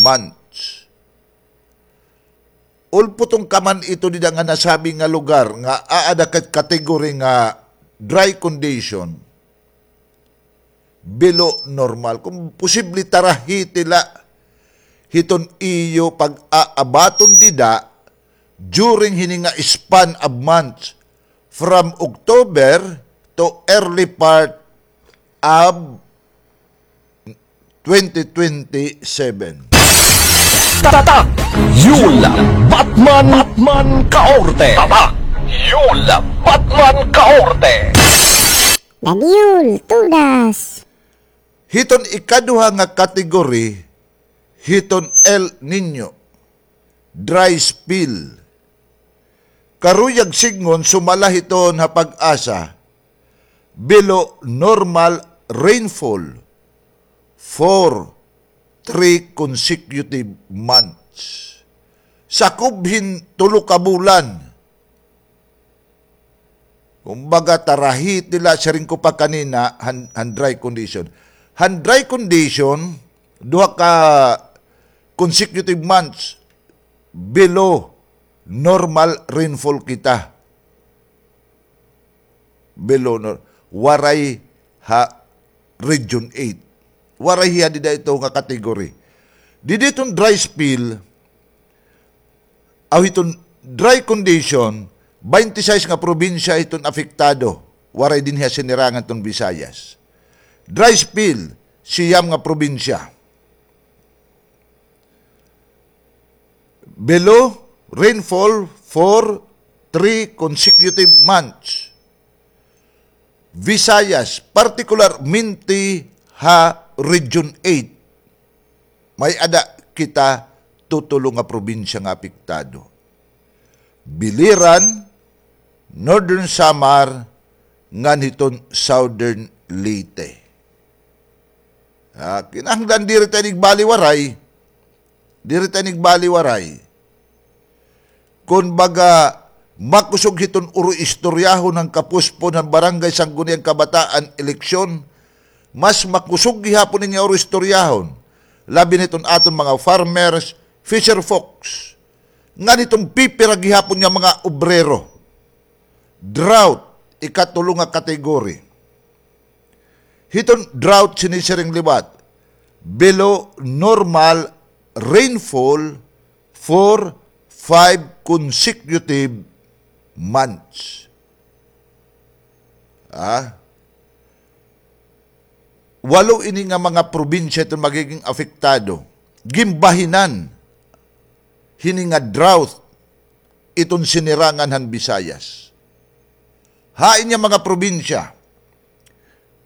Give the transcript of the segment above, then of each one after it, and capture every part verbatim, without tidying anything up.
months. Ulputon ka man ito dida nga nasabi nga lugar nga aada ka category nga dry condition, below normal. Kon posible, tarahiti la hiton iyo pag-aabaton dida during hini nga span of months from October to early part of twenty twenty-seven. Tatak Yul Batman, Batman Kaorte. Tatak Yul Batman Kaorte. Daniel, tugas. Hiton ikaduha nga category, hiton El Niño, dry spell. Karuyag sidngon, sumala hiton ha PAGASA, below normal rainfall for three consecutive months. Sakob hin tulo ka bulan. Kumbaga, tarahiti la, siring ko pa kanina, han, han dry condition. Han dry condition, duha ka consecutive months below normal rainfall kita. Below nor-, waray ha Region eight. Waray hiya dida ito nga category. Didi iton dry spell, aw hiton dry condition, baynte sais nga probinsya iton apektado. Waray dinhi ha Sinirangan iton Visayas. Dry spell, siyam nga probinsya. Below rainfall for three consecutive months. Visayas, partikularmente ha Region eight, may-ada kita tutulo nga probinsya nga apektado. Biliran, Northern Samar, ngan hiton Southern Leyte. Ah, kinahanglan diri ta ini igbaliwaray. Diri ta ini igbaliwaray. Kon baga, makusog hiton uro-istoryahon han kapuspon han Barangay Sangguniang Kabataan eleksyon, mas makusog gihapon ini nga uro-istoryahon. Labi na hiton aton mga farmers, fisher folks, ngan hiton pipira gihapon nga mga obrero. Drought, ikatulo nga category. Hiton drought, sinisiring liwat, below normal rainfall for five consecutive months. Ah? Walo ini nga mga probinsya iton magiging apektado. Ginbahinan hini nga drought iton Sinirangan han Visayas. Hain nga mga probinsya,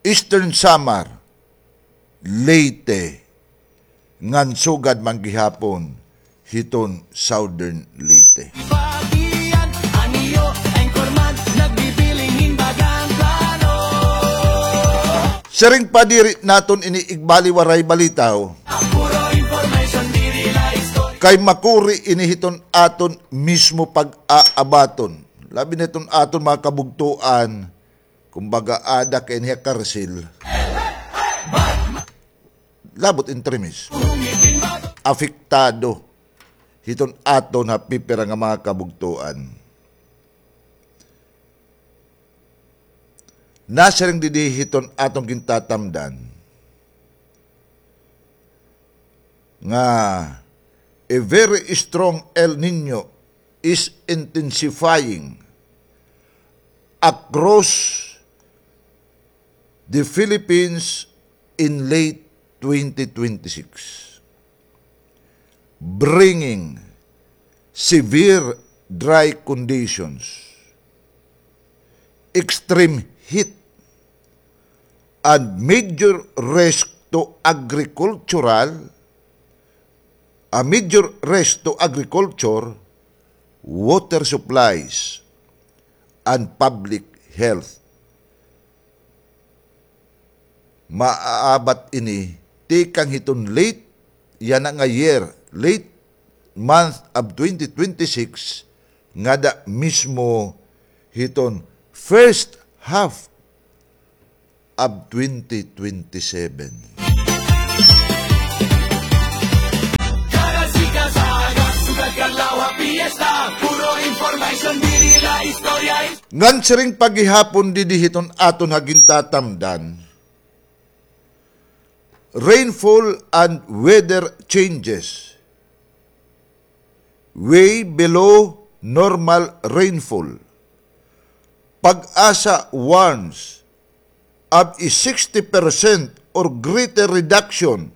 Eastern Samar, Leyte, ngan sugad man gihapon hiton Southern Leyte. Ibagian an iyo anchorman, nagbibiling hin bagang plano. Siring pa, diri naton ini igbaliwaray balitaw. Puro information, diri la istorya. Kay makuri ini hiton aton mismo pag-aabaton. Labi na hiton aton mga kabugtoan, kumbaga, aada ka ini ha karsil. Labot in trimis. Apektado hiton aton ha pipira nga mga kabugtoan. Nasiring didi hiton aton gintatamdan nga a very strong El Niño is intensifying across the Philippines in late twenty twenty-six, bringing severe dry conditions, extreme heat, and major risk to agricultural, a major risk to agriculture, water supplies, and public health. Maaabat ini tikang hiton late yana nga year, late month of twenty twenty-six, ngada mismo hiton first half of twenty twenty-seven. Ngan siring pa gihapon didi hiton aton ha gintatamdan, rainfall and weather changes. Way below normal rainfall. PAGASA warns of a sixty percent or greater reduction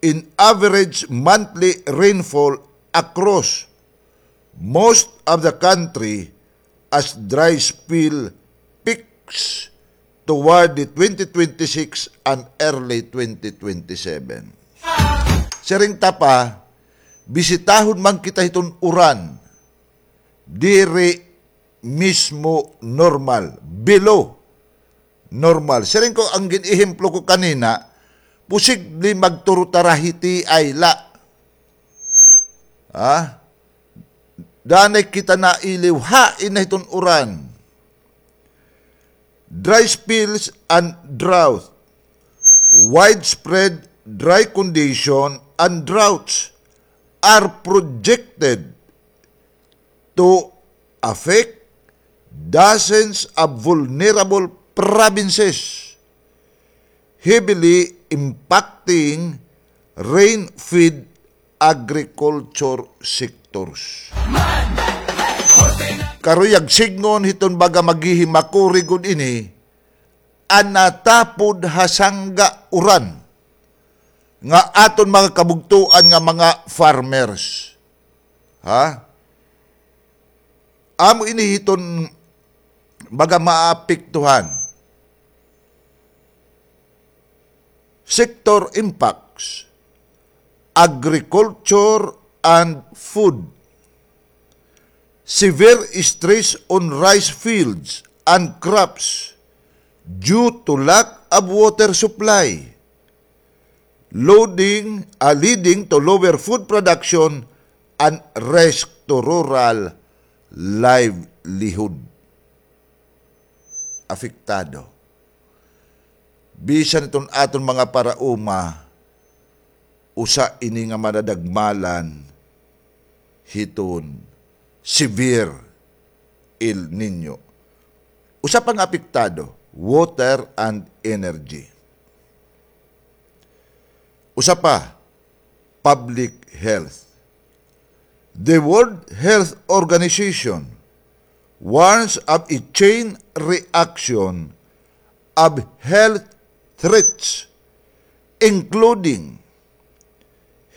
in average monthly rainfall across most of the country as dry spell peaks toward the twenty twenty-six and early twenty twenty-seven. Siring ta pa, bisitahon man kita hiton uran, diri mismo normal, below normal. Siring ko, an gin-ehemplo ko kanina, posible magturo ta ra hiti ay la. Ha? Danay kita nailiw, hain na hiton uran. Dry spells and drought. Widespread dry condition and droughts are projected to affect dozens of vulnerable provinces, heavily impacting rain-fed agriculture sectors. Karuyag sidngon hiton baga maghihimakuri gud ini, an natapod ha sangga uran nga aton mga kabugtoan nga mga farmers. Ha? Amo ini hiton baga maapektuhan. Sector impacts, agriculture and food. Severe stress on rice fields and crops due to lack of water supply, loading, ah, leading to lower food production and risk to rural livelihood. Apektado. Bisan iton aton mga paraoma, usa ini nga madadagmalan hiton severe El Niño. Usa pa nga apektado, water and energy. Usa pa, public health. The World Health Organization warns of a chain reaction of health threats, including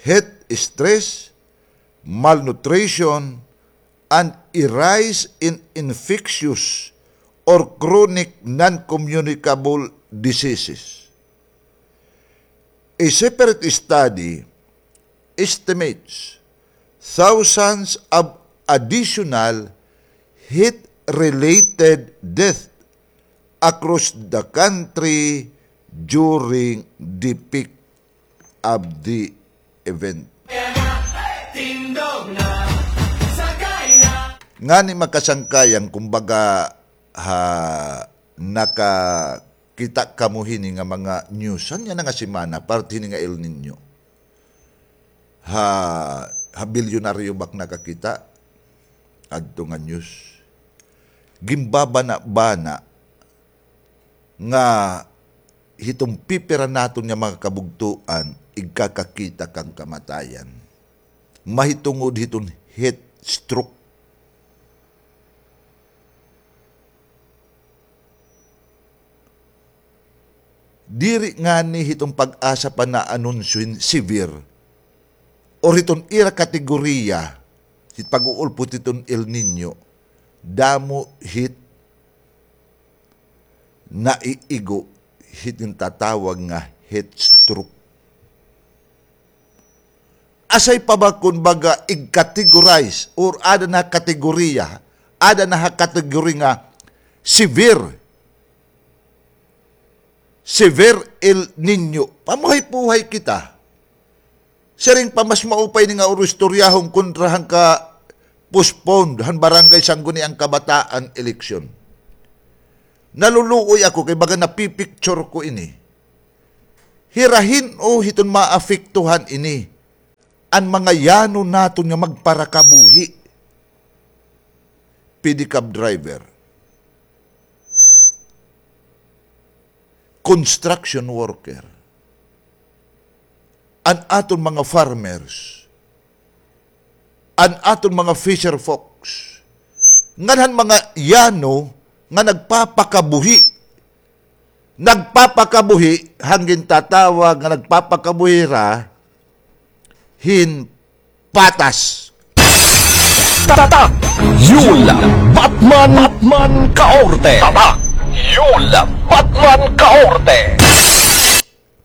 heat stress, malnutrition, and a rise in infectious or chronic non-communicable diseases. A separate study estimates thousands of additional heat-related deaths across the country during the peak of the event. Ngani makasangkayang, kumbaga, ha, nakakita kamo hini nga mga news han yana nga semana, parte hini nga El Niño. Ha, ha bilyonaryo ba ak nakakita adto nga news. Ginbabana-bana nga hiton pipira naton nga mga kabugtoan, igkakakita kan kamatayan. Mahitungod hiton heat stroke. Diri ngani hiton PAGASA pa naanunsyo hin severe or hiton ira kategoriya hit pag-uulpot hiton El Niño, damo hit naiigo hit gintatawag nga heat stroke. Asay pa ba kon baga ig-categorize or ada na kategoriya, ada na ha category nga severe, severe El Niño. Pamuhay-puhay kita. Siring pa mas maupay ini nga uro istoryahon kontra han ka-postpone han Barangay Sangguniang Kabataan eleksyon. Naluluoy ako kay baga napipicture ko ini. Hira hin-o hiton maapektuhan ini, an mga yano naton nga magparakabuhi. pedicab driver, construction worker, an aton mga farmers, an aton mga fisher folks, ngan han mga yano nga nagpapakabuhi, nagpapakabuhi, han gintatawag nga nagpapakabuhi hira hin patas. Tatak! Yul Batman, Batman Kaorte! Tatak! Yul Batman Kaorte!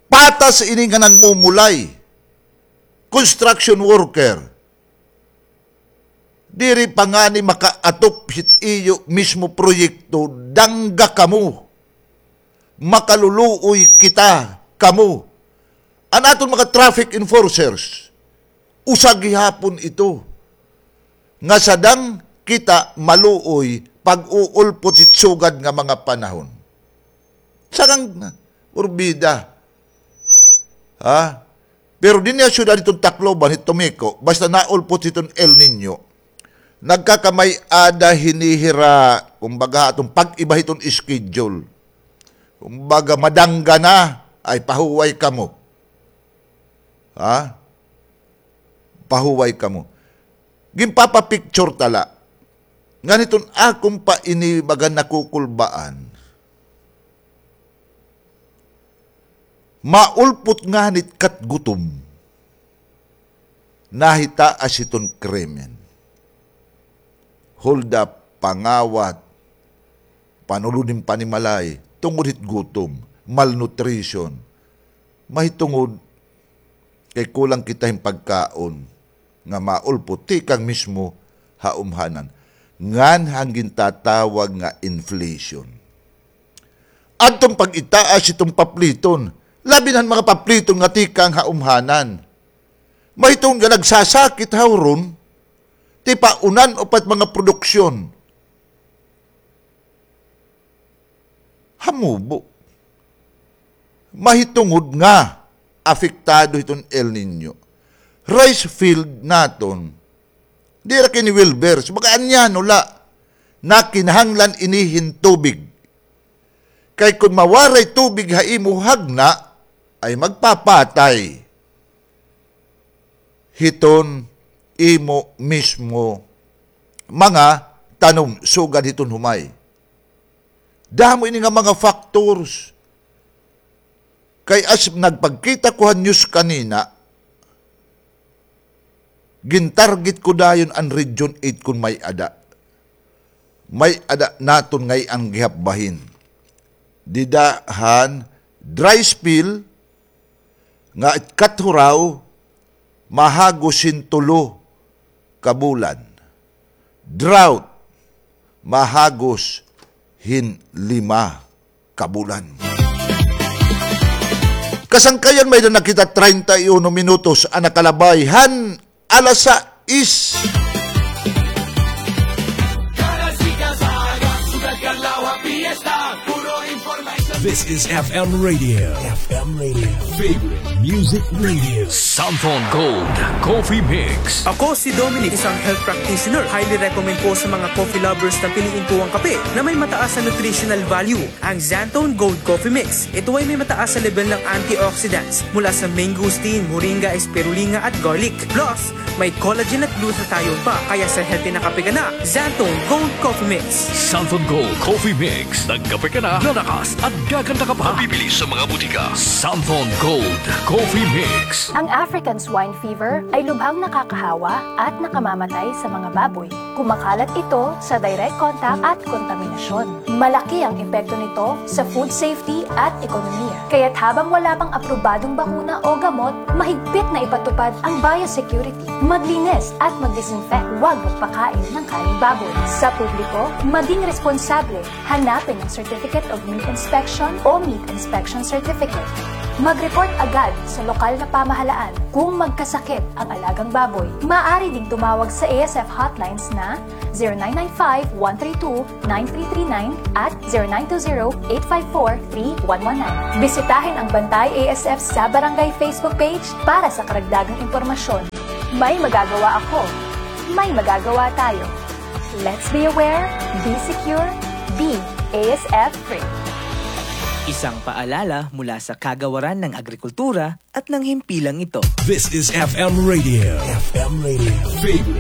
Patas ini nga nagmumulay. Construction worker. Diri pa ngani makaatop hit iyo mismo proyekto, dangga kamo. Makaluluoy kita kamo. An aton mga traffic enforcers, usa gihapon ito nga sadang kita maluoy pag-uulpot hit sugad nga mga panahon. Sakang urbida. Ha? Pero dinhi ha syudad hiton Tacloban, hit Tomeco, basta naulpot hiton El Niño, nagkakamay-ada hini hira, kumbaga, aton pag-iba hiton schedule. Kumbaga, madangga na, ay pahuway kamo. Ha? Pahuway kamo. Ginpapapicture ta la. Ngan hiton akon pa ini baga nakukulbaan. Maulpot ngani it katgutom. Nahitaas hiton krimen. Hold up, pangawat, panulod hin panimalay, tungod hit gutom, malnutrition. Mahitungod kay kulang kita hin pagkaon nga maulpot tikang mismo ha umhanan. Ngan han gintatawag nga inflation. Adton pag-itaas hiton papliton, labi na han mga papliton nga tikang ha umhanan. Mahitungod nga nagsasakit ha huron, tipaunan upad mga produksyon. Hamubo. Mahitungod nga apektado hiton El Niño. Rice field naton, diri ra kini well versed, baga anyano la, nga kinahanglan ini hin tubig. Kay kon mawaray tubig ha imo hagna, ay magpapatay hiton imo mismo mga tanom sugad hiton humay. Damo ini nga mga factors. Kay as nagpagkita ko ha news kanina, gintarget ko dayon an Region eight kon may-ada. May-ada naton ngay-an gihap bahin. Dida han dry spell nga it kathuraw mahagos hin tulo ka bulan. Drought mahagos hin lima ka bulan. Kasangkayan, may-ada na kita treinta y uno minutos an nakalabay han alas sais. This is F M Radio. F M Radio. Favorite music radio. Santhon Gold Coffee Mix. Ako si Dominic, isang health practitioner. Highly recommend ko sa mga coffee lovers na piliin ko ang kape na may mataas na nutritional value. Ang Xanthone Gold Coffee Mix. Ito ay may mataas na level ng antioxidants mula sa mangosteen, moringa, spirulina at garlic. Plus, may collagen at glutathione pa, kaya sa healthy na kape ka na, Xanthone Gold Coffee Mix. Xanthone Gold Coffee Mix. Nagkape ka na, lalakas at gaganda ka pa. Mabibili sa mga butika. Xanthone Gold Coffee Mix. Ang African swine fever ay lubhang nakakahawa at nakamamatay sa mga baboy. Kumakalat ito sa direct contact at kontaminasyon. Malaki ang epekto nito sa food safety at ekonomiya. Kaya't habang wala pang aprobadong bakuna o gamot, mahigpit na ipatupad ang biosecurity. Maglinis at mag-disinfect. Huwag magpakain ng karneng baboy. Sa publiko, maging responsable. Hanapin ang Certificate of Meat Inspection o Meat Inspection Certificate. Mag-report agad sa lokal na pamahalaan kung magkasakit ang alagang baboy. Maaari ding tumawag sa A S F hotlines na zero nine nine five, one three two, nine three three nine at zero nine two zero, eight five four, three one one nine. Bisitahin ang Bantay A S F sa Barangay Facebook page para sa karagdagang impormasyon. May magagawa ako. May magagawa tayo. Let's be aware, be secure, be A S F free. Isang paalala mula sa Kagawaran ng Agrikultura at ng himpilang ito. This is F M Radio. F M Radio. Favorite